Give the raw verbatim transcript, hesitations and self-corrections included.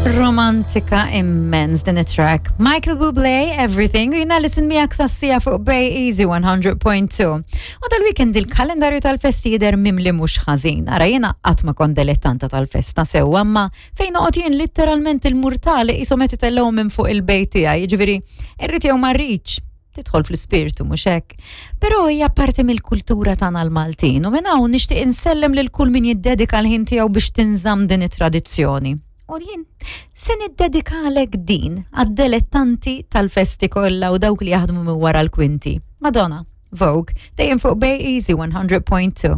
Romantika immens din it-track. Michael Bublé, Everything, u jiena Alison miegħek sas-siegħa fuq Bay Easy one hundred point two. U dal-weekend il-kalendarju tal-festi jidher mimli mhux ħażin. Ara, jiena qatt ma kont dilettanta tal-festa sew, imma fejn noqgħod jien literalment il-murtali qishom qed itellgħu minn fuq il-bejt tiegħi, jiġifieri irrid jew ma rridx tidħol fl-ispirtu, mhux hekk? Però hija parti mill-kultura tagħna l-Maltin u minn hawn nixtieq insellem lil kull min jiddedika l-ħin tiegħu biex tinżamm din it-tradizzjoni. U jien se niddedikalek din għad-dilettanti tal-festi kollha u dawk li jaħdmu minn wara l-kwinti. Madonna, Vogue, dejjem fuq Bay Easy one hundred point two.